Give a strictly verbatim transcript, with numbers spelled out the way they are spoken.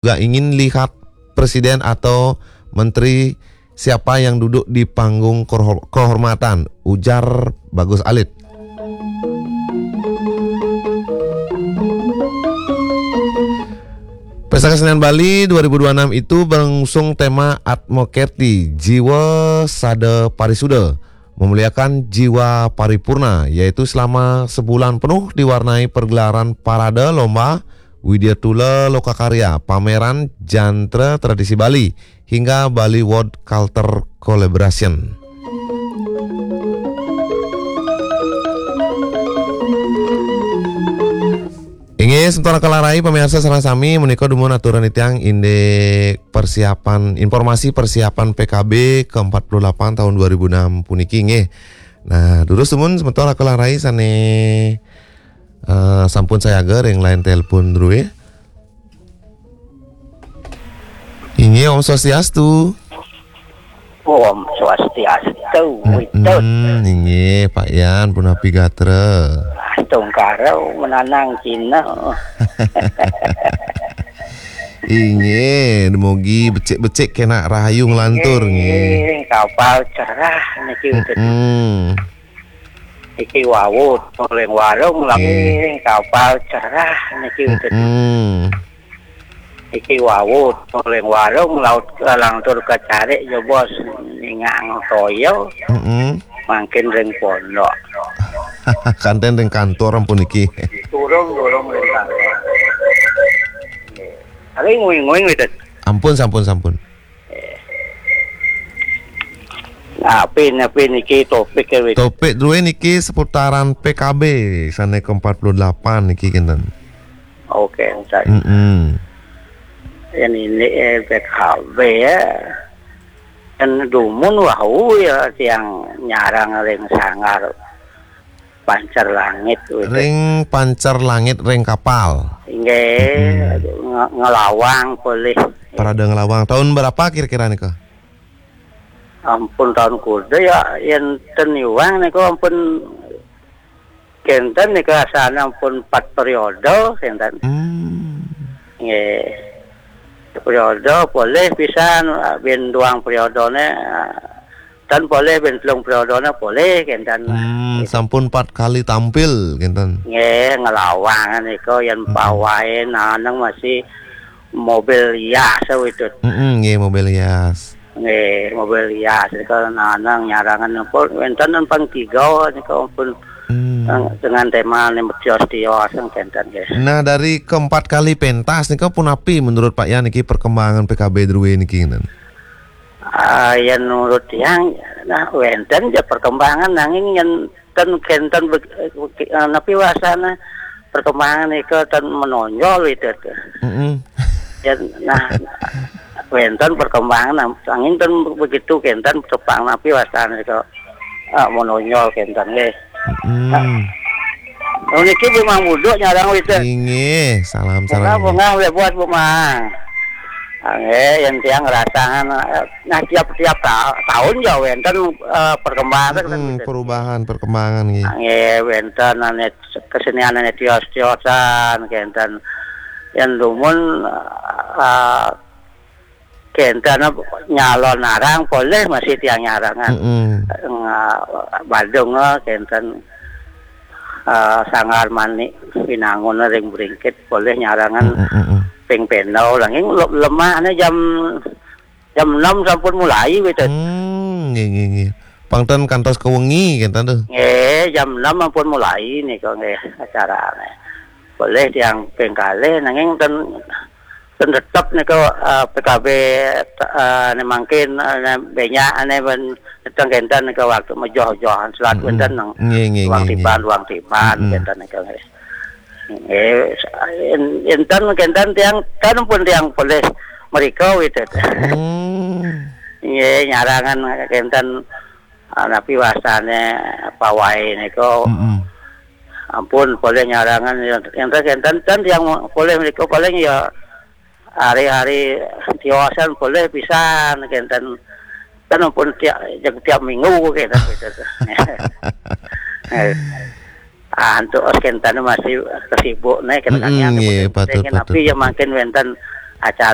juga ingin lihat presiden atau menteri siapa yang duduk di panggung kehor-, kehormatan, ujar Bagus Alit. Pesta Kesenian Bali dua ribu dua puluh enam itu mengusung tema Atmo Kerti, Jiwa Sada Parisuda, memuliakan jiwa paripurna, yaitu selama sebulan penuh diwarnai pergelaran parade lomba, Widya Tula Loka Karya, pameran jantra tradisi Bali, hingga Bali World Culture Collaboration. Inggih, semeton kalarai, pamiarsa sareng sami, menika dumun aturang titiang indik persiapan, informasi persiapan P K B ke empat puluh delapan tahun dua ribu enam puniki, nggih. Nah, durus dumun semeton kalarai sane, eh, sampun sayaga ring line telepon druwe. Inggih, Om Swastiastu. Om Swastiastu, Widut. Mm-mm, inggih, Pak Yan, punapi gatra? Astungkara menanang Cina. Inggih, dumogi becik-becik kena rahayu nglantur, nggih. Inggih, kapal cerah niki, Widut. Mm-mm. Iki wau, ring warung lagi, nggih, kapal cerah niki, Widut. Mm-mm. Iki wau, ring warung laut, lantur kacarik, jebos ningang toya, Mm-mm. mangkin ring pondok. Kanten ring kantor ampun niki. Turung, turung ring kantor. Nggih. Tapi nguing-nguing, Widut. Ampun, sampun, sampun. Eh. Napi, napi niki topik, Widut? Topik druwe niki seputaran P K B sane ke empat puluh delapan niki, kinten. Oke, entar. Mm-mm. Ini, eh, P K B ya. Kan dumun wau ya tiang nyarang ring sanggar Pancar Langit, Widut. Ring Pancar Langit ring kapal. Inggih, Mm-mm. nge-, ngelawang polih. Parade ngelawang. Tahun berapa kira-kira nika? Ampun tahun kuda ya, yen ten iwang nika ampun kenten nika asane ampun empat periode kenten. Hmm. Nggih. Periode polih pisan, ben duang periodene, ten polih ben telung periodene polih kenten. Hmm, sampun empat kali tampil kenten. Nggih, ngelawang nika yen Mm-mm. pawai naneng masih mobil hias, Widut. Mm-mm, nggih, mobil hias. Nggih, mobil hias nika nanang nyarangan napa wenten pang tiga nika pun Hmm. dengan tema ne tios-tios kenten, nggih. Nah, dari keempat kali pentas nika punapi menurut Pak Yan niki perkembangan P K B druwe niki, kenten? Ah, yen menurut tiang, nah, wenten ya perkembangan, nanging yen ten kenten be-, eh, napi wasana perkembangan nika ten menonjol itu. Mm-mm. Yen, nah, wenten perkembangan, nah, nanging ten begitu kenten tepang napi wasana nika, ah, menonjol kenten nggih. Mm-mm. Nah, niki Bu Mang Buduk nyarang witen. Inggih, salam sareng. Bunga, bunga, buat Bu Mang. Ah, nggih, yen tiang ngerasakan, eh, nah, tiap-tiap ta-, tahun ya wenten, eh, perkembangan, mm-mm, gitu. Perubahan, perkembangan, nggih. Ah, nggih, wenten ane kesenian ane tios-tiosan, kenten. Yen dumun, eh, kenten nyalon arang, polih masih tiang nyarangan. Mm-mm. Nga-, Badung, eh, kenten, eh, Sanggar Manik Binangun ring Bringkit, polih nyarangan. Mm-mm, mm-mm. Ping pendau, nanging le-, lemahne jam, jam enam sampun mulai, gitu. Hmm, nggih, nggih, nggih. Pang ten kantos ke wengi, kenten tuh. Nggih, jam enam ampun mulai nika nggih acarane. Polih tiang ping kalih, nanging ten, ten tetep nika, eh, P K B, eh, ne mangkin, eh, ne benyak, ne ben ten kenten nika waktu mejoh-johan selat. Mm-mm. Wenten nang nggih, nggih, ruang nggih, tiban, nggih. Ruang tiban, mm-mm, kenten nika nggih. Nggih, en-, enten kenten tiang, kan pun tiang polih mrika, Widut. Hmm. Nggih, nyarangan kenten, ah, napi wasane pawai nika. Mm-mm. Ampun, polih nyarangan, enten kenten, ten tiang polih mrika paling ya hari-hari tiosan polih pisan kenten. Kan ampun tiap, tiap minggu kenten, gitu. Eh. Ah, antuk kenten masih kesibuk nih, kenten. Mm-mm, nggih, patut, patut. Tapi ya mangkin wenten acara